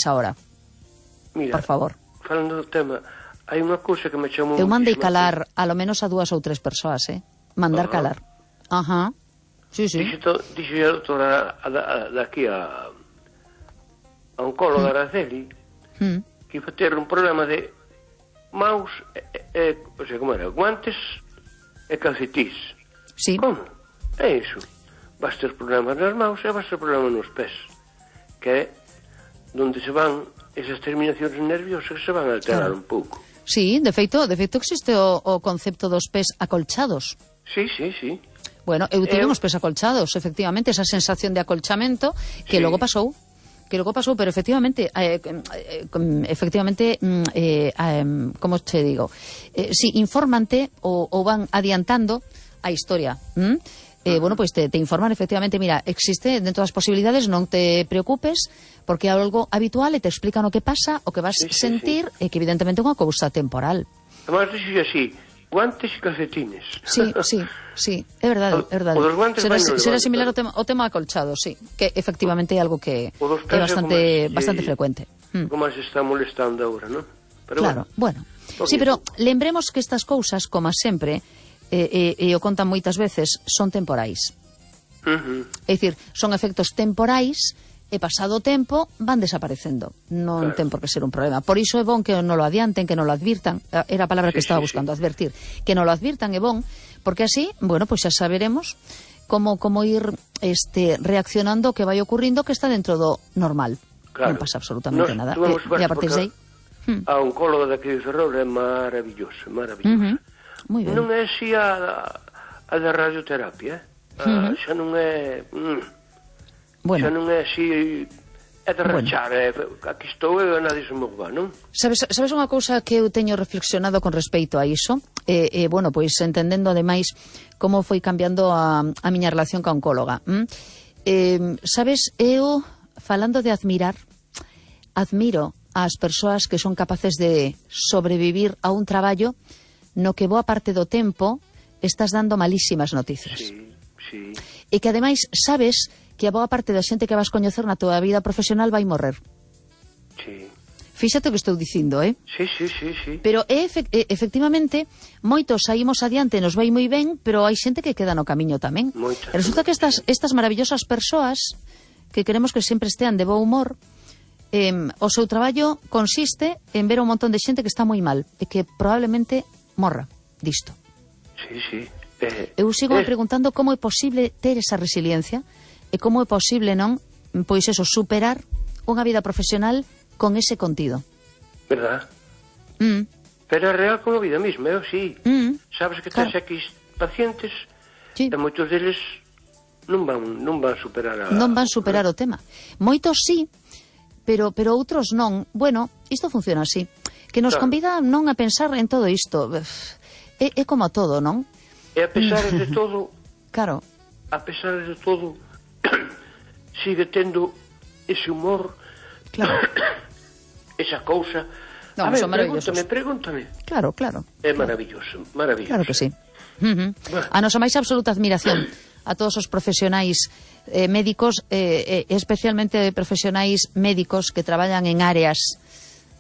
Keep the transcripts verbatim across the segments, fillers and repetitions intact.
ahora. Mira, por favor. Falando do tema, hai unha cousa que me chamou... Eu mandei calar a lo menos a dúas ou tres persoas, eh? Mandar uh-huh. calar. Ajá. Sí, sí. Dixe, to, dixe a doutora a, a, a, daqui a, a oncóloga mm. Araceli mm. que iba a ter un problema de maus, e, e, o sea, como era, guantes e calcetís. Sí. Como? É iso. Vas ter problemas nas maus e vas ter problemas nos pés. Que é onde se van esas terminacións nerviosas que se van a alterar claro. un pouco. Sí, de feito, de feito existe o, o concepto dos pés acolchados. Sí, sí, sí. Bueno, eu tive uns pés acolchados, efectivamente, esa sensación de acolchamento que sí. logo pasou, que logo pasou, pero efectivamente, eh, eh, efectivamente, eh, eh, como te digo, eh, si, infórmante ou, ou van adiantando a historia, ¿m? Eh, bueno, pues te, te informan efectivamente, mira, existe dentro das posibilidades, non te preocupes, porque é algo habitual e te explican o que pasa, o que vas sí, sí, sentir, sí. e que evidentemente é unha cousa temporal. Además, dixo así, guantes e calcetines. Sí, sí, sí, é verdade, é verdade. Será, será similar ao tema, ao tema acolchado, sí, que efectivamente é algo que é bastante, bastante frecuente. Como se está molestando agora, non? Claro, bueno. bueno. Sí, pero lembremos que estas cousas, como sempre, e eh, eh, o contan moitas veces, son temporais. Uh-huh. É dicir, son efectos temporais e pasado o tempo van desaparecendo. Non claro. ten por que ser un problema. Por iso é bon que non lo adianten, que non lo advirtan. Era a palabra sí, que estaba sí, buscando, sí. advertir. Que non lo advirtan é bon, porque así, bueno, pues xa saberemos como, como ir este, reaccionando o que vai ocurrindo que está dentro do normal. Claro. Non pasa absolutamente Nos, nada. E, e a partir de aí... A oncóloga daqui de Ferrol é maravillosa, maravillosa. Uh-huh. Muy ben. Non é así a, a da radioterapia, eh? uh-huh. Xa non é... Mm, Bueno. Xa non é así, é de rachar, bueno. é, aquí estou e nadie se mova, non? Sabes, sabes unha cousa que eu teño reflexionado con respecto a iso? E, eh, eh, bueno, pois entendendo ademais como foi cambiando a, a miña relación ca oncóloga. ¿Mm? Eh, sabes, eu, falando de admirar, admiro as persoas que son capaces de sobrevivir a un traballo no que boa parte do tempo estás dando malísimas noticias. Sí, sí. E que ademais sabes que a boa parte da xente que vas coñecer na tua vida profesional vai morrer. Sí. Fíxate o que estou dicindo, eh? Sí, sí, sí, sí. Pero é, efectivamente, moitos saímos adiante, nos vai moi ben, pero hai xente que queda no camiño tamén. Moitas, resulta que estas, estas maravillosas persoas que queremos que sempre estean de bo humor, eh, o seu traballo consiste en ver un montón de xente que está moi mal e que probablemente morra disto. Sí, sí. Eh, Eu sigo eh. me preguntando como é posible ter esa resiliencia e como é posible, non, pois eso, superar unha vida profesional con ese contido. Verdad? Mm. Pero é real como a vida mesma, eu sí. Mm. Sabes que claro. tens aquí pacientes sí. e moitos deles non van, non van superar a... Non van superar o tema. Moitos sí, pero, pero outros non. Bueno, isto funciona así. Que nos claro. convida non a pensar en todo isto. É, é como todo, non? E a pesar de todo... Claro. A pesar de todo... sigue tendo ese humor, claro. esa cousa. No, a ver, pregúntame, pregúntame. Claro, claro. É claro. maravilloso, maravilloso. Claro que sí. Uh-huh. Bueno. A nosa máis absoluta admiración a todos os profesionais eh, médicos, eh, eh, especialmente profesionais médicos que traballan en áreas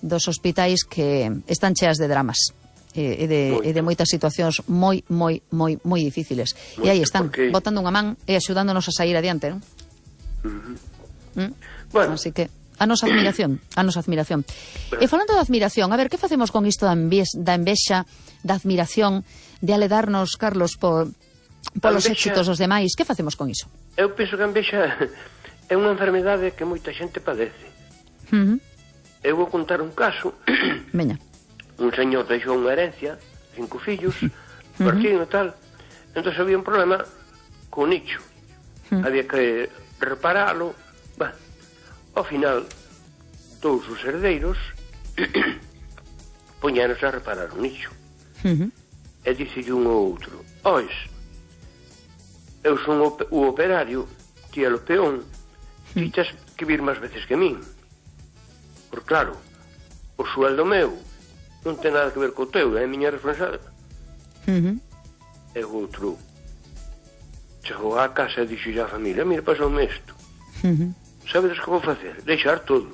dos hospitais que están cheas de dramas. E de, e de moitas situacións moi, moi, moi, moi difíciles. Moito, e aí están, porque... botando unha man e axudándonos a sair adiante, non? Uh-huh. ¿Mm? Bueno. Así que, a nosa admiración, a nosa admiración. Pero... E falando de admiración, a ver, que facemos con isto da, envies, da envexa, da admiración, de aledarnos, Carlos, por, por os éxitos dos demais? Que facemos con iso? Eu penso que a envexa é unha enfermedade que moita xente padece. Uh-huh. Eu vou contar un caso. Veña. Un señor deixou unha herencia, cinco fillos, uh-huh. partido e tal. Entón había un problema co nicho. Uh-huh. Había que reparalo. Bah, ao final, dous os herdeiros poñanos a reparar o nicho. Uh-huh. E dicille un ao outro: ois, eu son o, o operario, ti é o peón, ti tes que vir máis veces que min. Por claro, o sueldo meu non ten nada que ver co teu, é a miña responsabilidade. Uh-huh. E o outro chegou á casa e dixo a familia: mira, pasoume isto. Uh-huh. Sabedes que vou facer? Deixar todo.